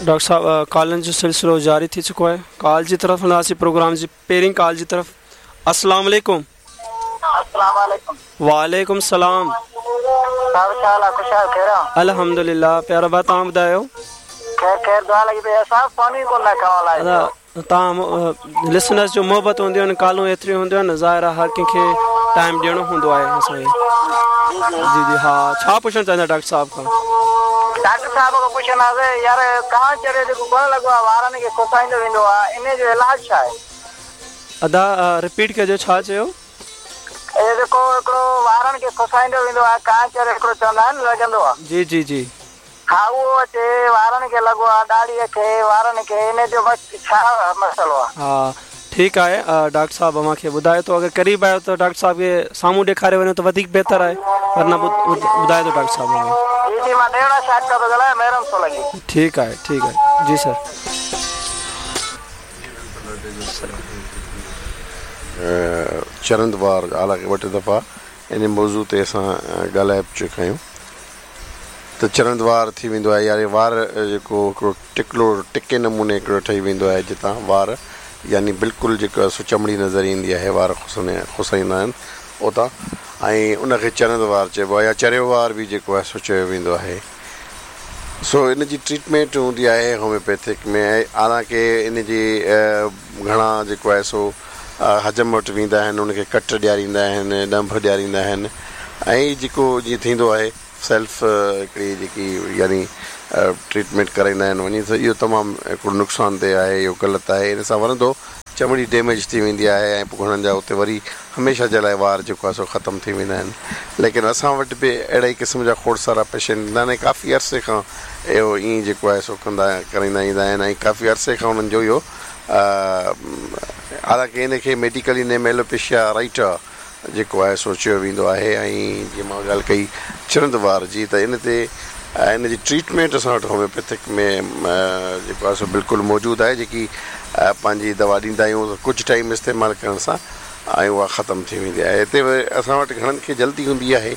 Doctor صاحب ڪالن جو سلسلو جاري ٿي چڪو آهي ڪال جي طرف هلنداسين پروگرام جي پهرين ڪال جي طرف السلام عليڪم السلام عليڪم وعليڪم السلام صاحب ڇا حال آ خوش آهيو خير آ الحمدلله پيارا ڀاء توهان ٻڌايو خير خير دعا لڳي پئي آ صاحب فون ئي ڪونه ٿا کڻو الائي ادا توهان لسنرز جو محبت هونديون آهن ڪالون ايتريون هونديون آهن ظاهر آهي هر ڪنهن کي ٽائيم ڏيڻو هوندو آهي اسان کي جي جي ها ڇا پڇڻ چاهيندا ڊاڪٽر صاحب کان. ڊاڪٽر صاحب کان پڇنداسين يار ڪان چريو جيڪو ڪونه لڳو آهي وارن کي کسائيندو ويندو آهي انهي جو علاج ڇا آهي. ادا رپيٽ ڪجو ڇا چيو. اهو جيڪو هڪڙو وارن کي کسائيندو ويندو آهي ڪان چريو هڪڙو چوندا آهن لڳندو آهي. جي جي جي. ها اهو اچي وارن کي لڳو آ ڏاڙهي کي وارن کي ان جو بس ڇا مسئلو آ. ها ٺيڪ آهي ڊاڪٽر صاحب اوهان کي ٻڌائي ٿو اگر قريب آهيو ته ڊاڪٽر صاحب کي سامهون ڏيکاري وڃو ته وڌيڪ بهتر آهي ورنه ٻڌائي ٿو ڊاڪٽر صاحب اوهان کي. جي جي مان ڏيوڙا شاخ کان ٿو ڳالهايان محرم سولنگي. ٺيڪ آهي ٺيڪ آهي جي سر. چرند وار حالانڪه ٻه ٽي دفعا ان موضوع تي اسان ڳالهائي به چڪا آهيون. ته چرند وار ٿي ويندو آهي يعني وار جيڪو هڪڙو ٽڪلو ٽڪي نموني هڪڙو ٺهي ويندو آهي جتان وار يعني بلڪل جيڪو آهي سو چمڙي نظر ايندي آهي وار کسائيندا آهن اتان ۽ ان کي چرند وار چئبو آهي يا چريو وار به جيڪو آهي سو چيو ويندو آهي سو ان جي ٽريٽمينٽ هوندي آهي هوميوپيٿڪ ۾ حالانڪه ان جي گهڻا جيڪو آهي سو حجم وٽ ويندا آهن ان کي ڪٽ ڏياريندا آهن ڏنڀ ڏياريندا آهن ۽ جيڪو جيئن ٿيندو آهي سيلف هڪڙي جيڪي يعني ٽريٽمينٽ ڪرائيندا آهن وڃي ته اهو تمام هڪڙو نقصان ده آهي اهو غلط آهي ان سان ورندو چمڙي ڊيميج ٿي ويندي آهي ۽ پوء گهڻن جا اتي وري هميشه جي لاء وار جيڪو آهي سو ختم ٿي ويندا آهن ليڪن اسان وٽ به اهڙي ئي قسم جا کوڙ سارا پيشنٽ ايندا آهن ۽ ڪافي عرصي کان اهو ائين جيڪو آهي سو ڪندا ڪرائيندا ايندا آهن ۽ ڪافي عرصي کان انهن جو اهو حالانڪه ان کي ميڊيڪلي نيم ايلوپيشيا رائٽا جيڪو آهي سو چيو ويندو آهي ۽ جيئن مان ڳالهه ڪئي چرند وار جي ته ان تي ان جي ٽريٽمينٽ اسان وٽ هوميوپيٿڪ ۾ جيڪو آهي سو بلڪل موجود آهي جيڪي پنهنجي دوا ڏيندا آهيون ته ڪجهه ٽائيم استعمال ڪرڻ سان ۽ اها ختم ٿي ويندي آهي هتي اسان وٽ گهڻن کي جلدي هوندي آهي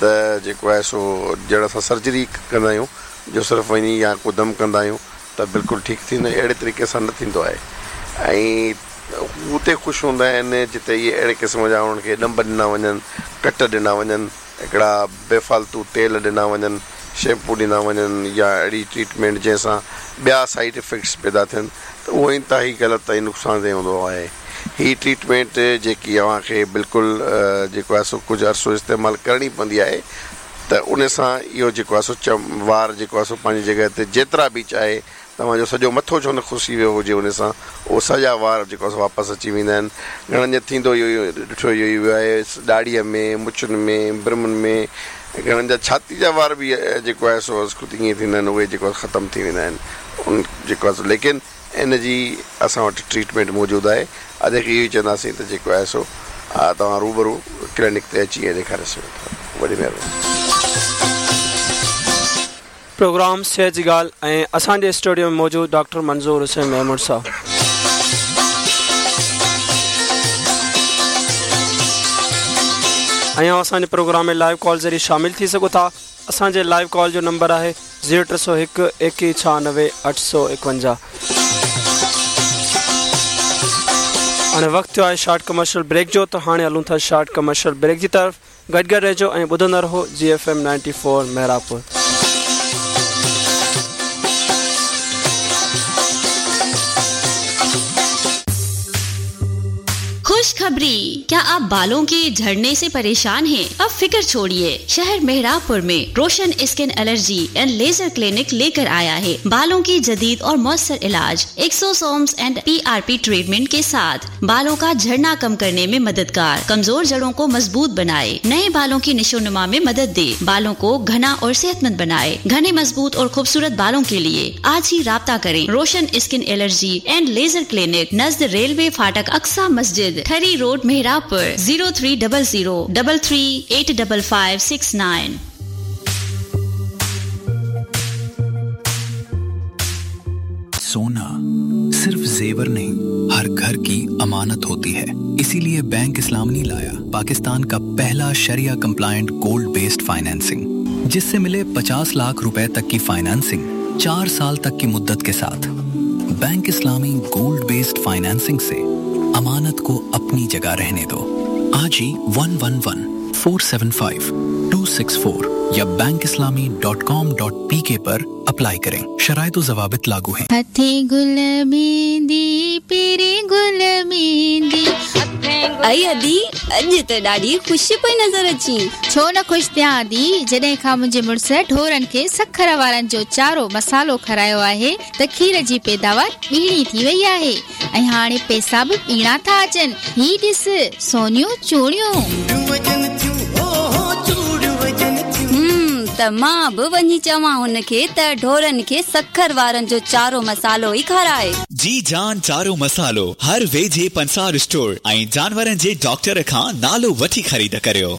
ته جيڪو آهي سو ڄڻ اسان سرجري ڪندا آهيون جو صرف وڃي يا ڪو دم ڪندا آهيون ته بلڪل ٺيڪ ٿيندو اهڙي طريقي سان نه ٿيندو آهي ۽ هو اتي خوش هوندا آهن جتي اهي اهڙي قسم جا انهن کي ڏنڀ ڏنا وڃن ڪٽ ڏنا وڃن هڪڙا بي فالتو تيل ڏنا وڃن شيمپو ڏنا وڃن يا اهڙي ٽريٽمينٽ جنهن سان ٻيا سائيڊ افيڪٽس پيدا ٿين ته اهو انتهائي غلط ۽ نقصان ده هوندو آهي هي ٽريٽمينٽ جيڪي اوهان کي بلڪل جيڪو آهي سو ڪجهه عرصو استعمال ڪرڻي پوندي آهي ته ان سان اهو جيڪو آهي سو چم وار جيڪو آهي سو پنهنجي جڳهه تي جيترا به چاهي توهان جو سڄو مٿو ڇو نه کسي ويو هجي ان سان اهو سڄا وار جيڪو آهي سو واپس اچي ويندا آهن گهڻن جا ٿيندو اهو ئي ڏٺو اهو ئي ويو آهي ڏاڙهيء ۾ مڇن ۾ برمن ۾ گهڻن جا ڇاتي جا وار به جيڪو آهي سو از خود ائين ٿيندا آهن اهي جيڪو آهي ختم ٿي ويندا آهن ان جيڪو آهي سو ليڪن ان جي اسان وٽ ٽريٽمينٽ موجود آهي اڄ کي اهو ئي چونداسين ته جيڪو آهي سو توهان روبرو ڪلينڪ تي اچي ۽ ڏيکاري سگهو ٿا وڏي مهرباني. پروگرام صحت جي ڳالهه ۽ اسان جي اسٽوڊيو ۾ موجود ڊاڪٽر منظور حسين ميمڻ صاحب. ۽ اوهان اسان جي پروگرام ۾ لائيو ڪال ذريعي شامل ٿي سگهو ٿا. اسان جي لائيو ڪال جو نمبر آهي زيرو ٽي سؤ هڪ ايڪيهه ڇهانوي اٺ سؤ ايڪونجاهه. هاڻي وقت ٿيو آهي شارٽ ڪمرشل بريڪ جو ته هاڻي هلون ٿا شارٽ ڪمرشل بريڪ جي طرف گڏ گڏ رهجو ۽ ٻڌندا رهو جي ايف ايم 94 محرابپور. खुशखबरी क्या आप बालों के झड़ने से परेशान हैं? अब फिक्र छोड़िए शहर मेहराबपुर में Roshan skin allergy and laser clinic लेकर आया है बालों की जदीद और मौसर इलाज एक्सोसोम्स एंड पीआरपी ट्रीटमेंट के साथ बालों का झड़ना कम करने में मददगार कमजोर जड़ों को मजबूत बनाए नए बालों की निशोनुमा में मदद दे बालों को घना और सेहतमंद बनाए घने मजबूत और खूबसूरत बालों के लिए आज ही राब्ता करें Roshan skin allergy and laser clinic नज्द railway फाटक अक्सा मस्जिद Thari road Mehrabpur zero three double zero double three eight double five six nine सोना सिर्फ जेवर नहीं हर घर की अमानत होती है इसीलिए बैंक इस्लामनी लाया पाकिस्तान का पहला शरिया कंप्लायंट गोल्ड बेस्ड फाइनेंसिंग जिससे मिले 50 लाख रुपए तक की फाइनेंसिंग 4 साल तक की मुद्दत के साथ बैंक इस्लामी गोल्ड बेस्ड फाइनेंसिंग से अमानत को अपनी जगह रहने दो। आज ही 111 475 264 या bankislami.com.pk पर अप्लाई करें। शराइत ज़वाबित लागू हैं। हथे गुल मेहंदी पीरे गुल मेहंदी। आई अदी, अॼु त ॾाढी ख़ुशि पई नज़र अची। छो न ख़ुशि थियां अदी, जॾहिं खां मुंहिंजे मुड़ुस ढोरनि खे सखर वारनि जो चारो मसालो खारायो आहे त खीर जी पैदावार ॿीणी थी वई आहे ऐं हाणे पैसा बि ॿीणा था अचनि। ही ॾिस सोनियूं चूड़ियूं। त मां बि वञी चवां हुनखे त ढोरनि खे सखर वारनि जो चारो मसालो ई खाराए। जी जान चारो मसालो हर वेझे पंसार स्टोर ऐं जानवरनि जे डॉक्टर खां नालो वठी ख़रीद करियो।